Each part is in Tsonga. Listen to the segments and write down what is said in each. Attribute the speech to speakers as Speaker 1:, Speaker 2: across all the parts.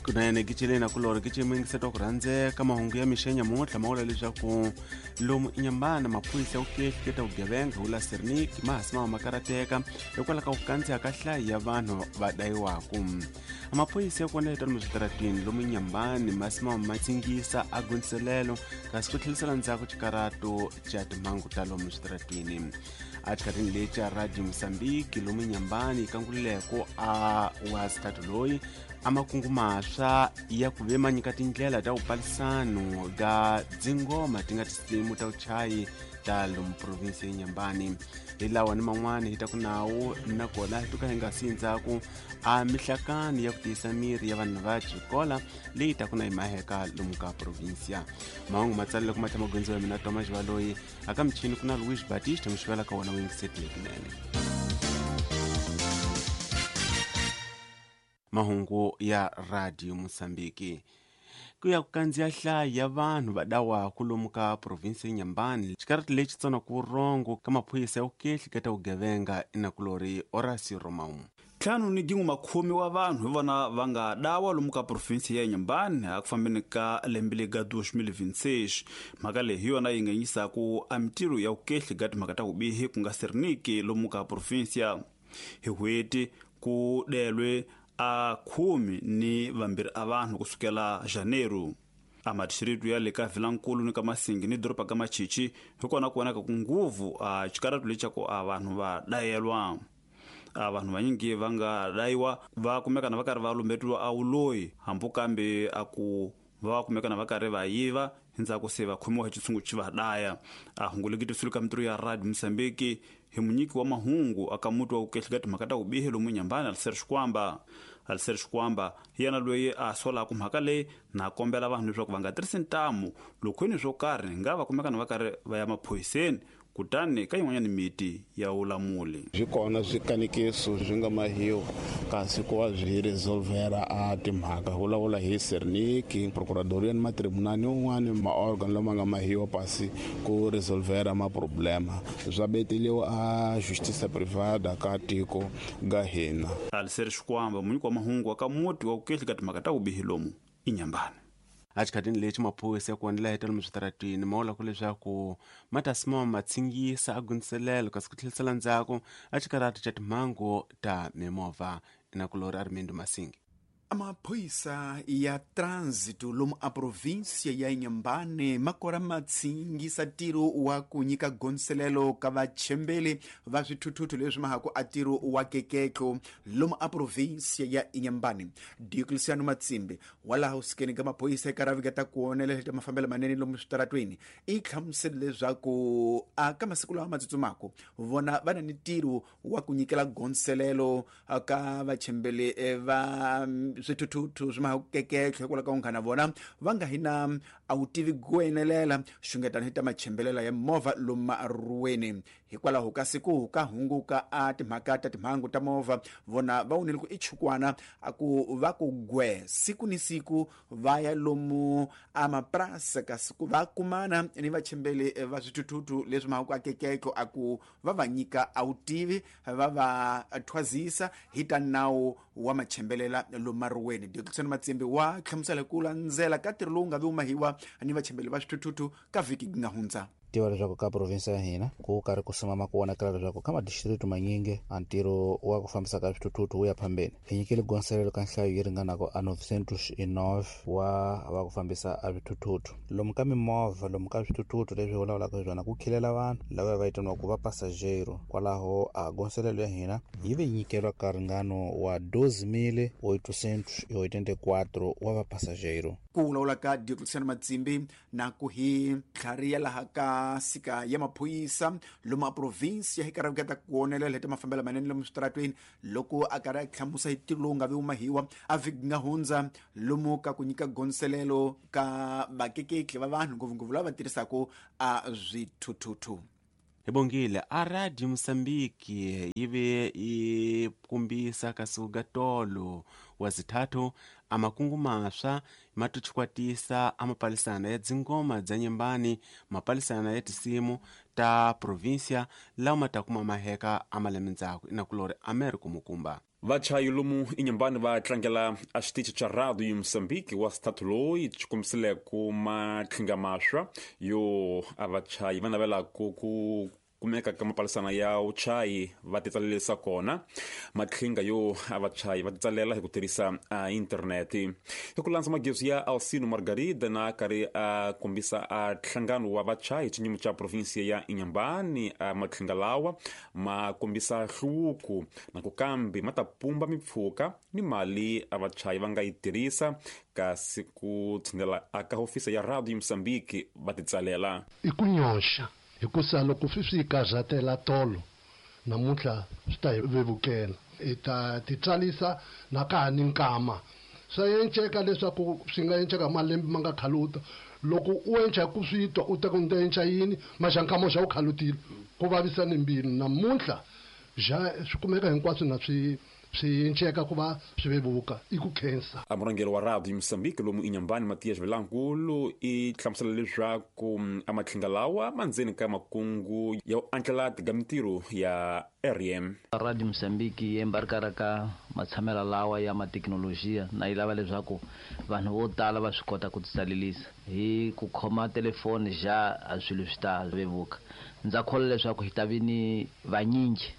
Speaker 1: Kunene kiceleni kulori kicimingise ku rhandzeka mahungu ya mixa nyamuntlha ma vula leswaku lomu inyambana maphorisa ya ku ehleketa vugevenga wu la Sernik ma ha simama ma karateka hikwalaho ka ku kandziya ka nhlayo ya vanhu va dayiwaku. Maphorisa ya kona etano switaratini lomu inyambani ma simama ma tsingisa a gondziselelo kasi ku tlhelisela ndzhaku xikarato xa timhangu ta lomu switaratini. Exikarhini lexi xa Radio Mozambique lomu inyambani kankululeko a wa sithathu loyi a makungu maswa ya ku ve ma nyika tindlela ta vupalisano ga dzingoma ti nga tinsimu ta vuchayi ta lomu provinsi ya Nyambani. Hi lawa ni man'wana hi ta ku nawu nakona hi tuka hi nga si ndzhaku a mihlakani ya ku tiyisa miri ya vanhu va xikola leyi ta ku na hi maheka lomu ka provinsia. Mahungu ma tsalele ku matlha magondzo ya mina Thomas Valoyi aka michini ku na Luis Batista mixivela ka wona wingisetile lekinene. Mahungu ya Radio Mozambique. Ku ya ku kandziya nhlayo ya vanhu va dawaku lomu ka provinsi ya Nyambani xikarati lexi tsonaka vurhongo ka maphorisa ya ku ehleketa vugevenga inakulori Horacio Romão.
Speaker 2: 5 ni gin'we makhume wa vanhu hi vona va nga dawa lomu ka provinsi ya Nyambani a ku fambeni ka lembe lega 2026. Mhaka leyi hi yona yi nga yisaku a mitirho ya vukehli ga timhaka ta vubihi ku nga Serniki lomu ka provinsia. Hi hweti ku delwe a 12 a vanhu kusukela janeiro. A madistrito ya le ka Vilankulu ni ka Masingi ni doroba ka Machichi hi kona ku vonaka ku nguvu a xikaratu lexaku a vanhu va dayelwa. A vanhu vanyingi va nga dayiwa va kumekana va karhi va lumbetiwa a wuloyi hambi kambe a ku va kumekana va karhi va yiva endzhaku se va khomiwa hi xitshungu xi va daya. A hungu lekitisiwile ka mitirho ya Radio Mozambique hi munyiki wa mahungu aka muti wa vukehli ka timhaka ta vubihi lomu Nyambani Aliser Xikwamba. Aliser Xikwamba hi yena loyi a solaka mhaka leyi na kombela vanhu leswaku va nga tirhisi ntamu lokhweni swo karhi nga va kumekana va karhi va ya maphoyiseni kutani ka yin'wanyana miti ya vulamuli.
Speaker 3: Swi kona swikanekiso swi nga mahiwa kasi ku va byi resolvera a timhaka vulavula hi Serniki procuradoria ni matribunal ni un'wani maorgan lama nga mahiwa pasi ku resolvera maproblema swa beteliwa a justiça privada ka tiko ga hina.
Speaker 2: Aliser Xikwamba munyiki wa mahungu wa ka muti wa vukehli ka timhaka ta vubihi lomu inyambani.
Speaker 1: Exikhatini lexi maphorisa ya ku onela heta lomu switaratini ma vula ku leswaku ma ta simama ma tsingisa a gondziselelo kasi ku tlhelisela ndzhaku a xikarati xa timhangu ta mimovha. Inakulori Armindo Masingi.
Speaker 4: Amaphoyisa ya trânsito lomu a província ya Inhambane makora matsingisa ntirho wa ku nyika gondzelelo ka vachembeli va swithuthuthu leswi mahaku a ntirho wa keketlo lomu a província ya Inhambane. Diocleciano Matsimbi wa laha usikeni ka maphorisa eka ravika ta ku onela ta mafambelo manene lomu switaratweni i hlamusele leswaku a ka masiku lawa ma tsutsumaka vona va na ni ntirho wa ku nyikela gondzelelo ka vachembeli va swithuthuthu swi mahaku keketlo hikwalaho ka unghana vona va nga hi na a wu tivi ku enelela xungetano hi ta machembelela ya movha lomu maruweni. Hikwalaho ka siku ka hunguka a timhaka ta timhangu ta movha vona va wonile ku i chukwana a ku va ku gwe siku ni siku va ya lomu a mapurasi kasi ku va kumana ni vachembeli va swithuthuthu leswi mahaku a keketlo a ku va va nyika a wutivi va va thwazisa hi ta nawu wa machembelela lomu maruweni. Diocleciano Matsimbi wa hlamusela ku landzela ka ntirho lowu nga vi mahiwa ni vachembeli va swithuthuthu ka vhiki nga hundza.
Speaker 5: Tiva leswaku ka provinsi ya hina ku karhi ku simama ku vonakala leswaku ka madistrito manyingi a ntirho wa ku fambisa ka swithuthuthu wu ya phambeni. Hi nyikile gondzelelo ka nhlayo yi ringanaka a 909 wa va ku fambisa a swithuthuthu lomu ka mimovha lomu ka swithuthuthu leswi vulavulaka hi swona ku khilela vanhu lava va vitaniwaka va passageiro. Kwalaho a gondzelelo ya hina yi ve nyikeriwa ka ringano wa 12884 wa va passageiro.
Speaker 4: Ku vulavula ka Diocleciano Matsimbi na ku hi tlhariya laha ka sika ya maphorisa lomu a provinsi ya hi karhi ta ku onelela hi ta mafambelo manene lomu switaratweni loko a karhi a hlamusa hi ntirho lowu nga vi mahiwa a vhiki nga hundza lomu ka ku nyika gondzelelo ka vakeketli va vanhu ngopfungopfu lava va tirhisaka a swithuthuthu.
Speaker 1: Hi bongile a Radio Mozambique yi ve yi kumbisa kasuka tolo wa zithathu a makungu maswa ma tuchikwatisa a mapalisana ya dzingoma dza nyembani mapalisana ya tisimu ta provinsia lawa ma ta kuma maheka a malembe ndzhaku inakulori Americo Mukumba.
Speaker 6: Vachayi lomu Inhambane va tlangela a xitichi xa radio ya Mozambique wa sithathu loyi xi kombisile ku matlhinga maswa yo a vachayi va navelaka ku kumeka ka mapalisana ya vuchayi va titsalelisa kona. Matlhinga yo a vachayi va titsalela hi ku tirhisa a interneti. Hi ku landza magezi ya Alcino Margarida na karhi a kombisa a nhlangano wa vachayi xinyimo xa provinsia ya Inhambane, a matlhinga lawa ma kombisa hluvuko na ku kambe ma ta pumba mipfhuka ni mali a vachayi va nga yi tirhisa kasi ku tshinela aka hofisa ya radio Mozambique va titsalela.
Speaker 7: I ku nyoxa hikusa loko swi swi karhatela tolo namuntlha swi ta hi vevukela hi ta titsalisa na ka ha ni nkama swa enceka leswaku swi nga enceka malembe ma nga khaluta loko u enca ku swi twa u ta ku nta enca yini maxa nkama xa u khalutile ku vavisa ni mbilu namuntlha ja swi kumeka hinkwaswo na swi enceka ku va swi vevuka i ku khensa.
Speaker 6: A murhangeri wa radio Mozambique lomu Inhambane Matias Vilankulu i hlamusela leswaku a matlhinga lawa ma ndzeni ka makungu ya u andlala tiga mintirho ya RM.
Speaker 8: Radio Mozambique yi embarkara ka matshamela lawa ya mathekinolojiya na yi lava leswaku vanhu vo tala va swi kota ku titsalelisa hi ku khoma telefoni ja a swilo swi ta vevuka. Ndza kholwa leswaku hi ta vi ni vanyingi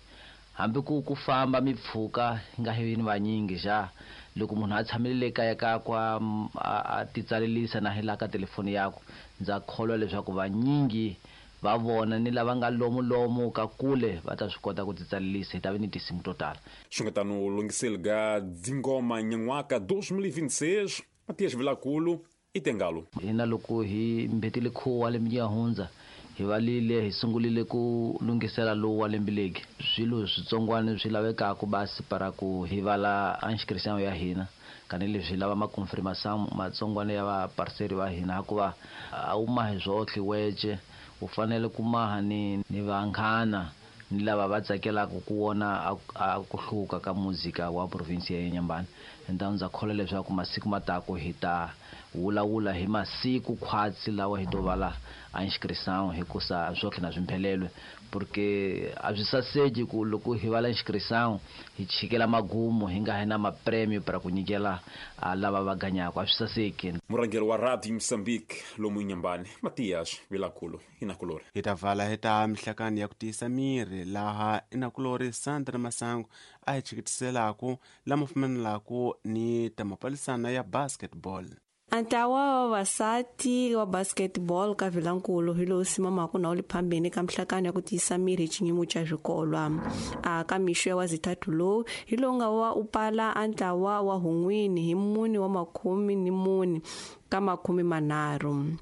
Speaker 8: hambi ku famba mipfhuka nga hi ni vanyingi ja loko munhu a tshamile kaya ka kwa a titsalelisa na hi la ka telefoni yakwe ndza kholwa leswaku vanyingi va vona ni lava nga lomu lomu ka kule va ta swi kota ku titsalelisa hi ta vi ni tinsimu to tala.
Speaker 6: Xungetano lunghiselga dzingoma nyan'waka 2026 Matias Vilakulu i tengalo.
Speaker 8: Hina loko hi mbetile khuwa lembe ya hundza hi valile hi sungulile ku lunghisela lowu wa lembe legi swilo switsongwana swi lavekaka basi para ku hi vala inscription ya hina kanileswi lava ma confirmation matsongwana ya va parceri va hina hikuva a wu mahi zwohle wece u fanele ku maha ni vanghana ni lava va tsakelaka ku vona a ku hluka ka muzika wa province ya Inhambane. Ndza ndza kholwa leswaku masiku matako hi ta vulavula hi masiku khwatsi lawa hi to vala a inscription hikusa swotlhe na swimphelelwe porque a swi saseki ku loko hi vala inscription hi chikela magumu hi nga hi na mapremio para ku nyikela lava va ganyaka a swi saseki.
Speaker 6: Murhangeri wa radio Mozambique lomu Inhambane Matias Vilakulu inakulori.
Speaker 1: Hi ta vala hi ta mihlakani ya ku tiyisa miri laha inakulori Sandra Masango a hi chikitiselaka lama fumanelaka ni ta mapalisana ya basketball.
Speaker 9: Ntlawa wa vavasati wa basketball ka Vilankulu hi lowu simamaka na wu le phambeni ka mihlakano ya ku tiyisa miri hi xinyimo xa swikolwa. A ka mixo ya wa zithathu lowu hi lowu nga wa u pala a ntlawa wa hun'wini hi 4 wa 14 ka 30.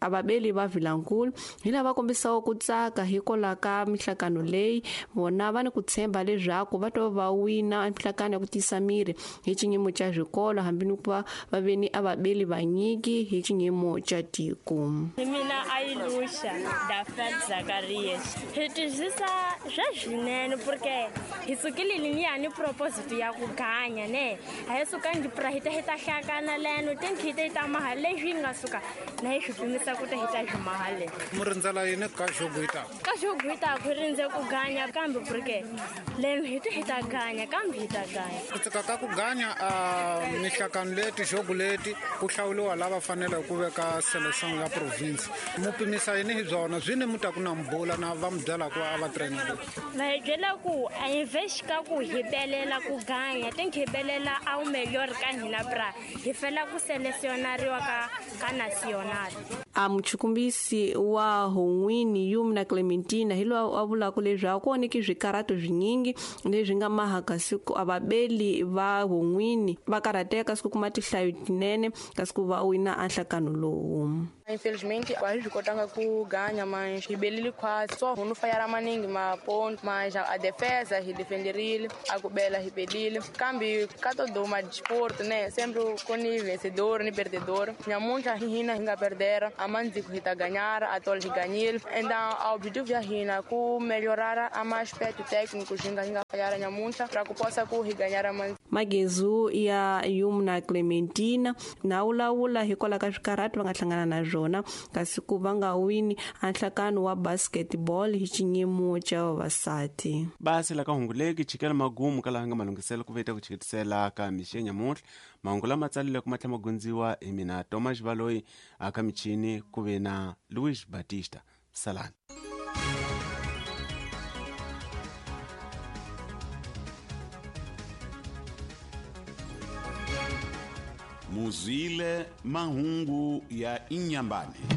Speaker 9: A vabeli va Vilankulu hi lava kombisaka ku tsaka hikwalaho ka mihlakano leyi vona va ni ku tshemba leswaku va to va wina mihlakano ya ku tiyisa miri hi xinyimo xa swikolo hambi ni ku va va ve ni a vabeli vanyiki hi xinyimo xa tiko.
Speaker 10: Mina Ailusha Dafet Zakarias hi twisisa swa swinene porque hi sukile ni proposito ya ku ganya ne a hi sukangi pra hi ta hi ta hlakana leno tinkhite ta maha leswi nga suka na hi swi pimisa ku ta hi ta swi mahale.
Speaker 11: Mu rindzela yini ka xoguita?
Speaker 10: Ka xoguita ku rindze ku ganya kambe porque leno hi ta hi ta ganya kambe hi ta ganya.
Speaker 11: Ku tsaka ka ku ganya a mihlakano leti xogu leti ku hlawuliwa lava faneleke ku veka selection ya province. Mu pimisa yini hi byona swi ni mu ta ku na mbula na va mu byela ku a va trainer.
Speaker 10: Va hi byela ku a hi vexika ku hi belela ku ganya tinki hi belela a wu melhor ka hina bra hi fela ku selesionariwa ka national.
Speaker 9: A muchukumbisi wa Hon'wini Yumna Clementina hi loyi a vulaka leswaku ku onheke swikarato swinyingi leswi nga maha kasi ku a vabeli va Hon'wini va karhateka kasi ku kuma tinhlayo tinene kasi ku va wina a nhlakano lowu.
Speaker 12: Infelizmente a swi kotanga ku ganya mas hi belile quase só no falhar maningi ma ponto mas a defesa hi defenderile a ku bela hi belile kambe ka todo uma desporto né sempre com ni vencedor ni perdedor nyamuntlha hina hi nga perdera A mandziku hi ta ganhar, a tolo hi ganhile. Então o objetivo ya hina ku melhorar a aspecto técnico hi nga falhar nyamuntlha pra ku possa ku hi ganhar mandziku.
Speaker 9: Magezu ya Yumna Clementina na wulawula hikwalaho ka swikarhati va nga hlangana na swona kasi ku va nga wini a nhlakano wa basketball hi xinyimo xa vavasati.
Speaker 1: Basi la ka hunguleki chikela magumu ka laha nga malunghiselo ku veta ku chikitisela ka mixo nyamuntlha. Mahungu lama tsalile ku matlha magundziwa hi mina Thomas Baloyi, aka michini ku ve na Luis Batista. Salani.
Speaker 13: Muzwile mahungu ya Inhambane.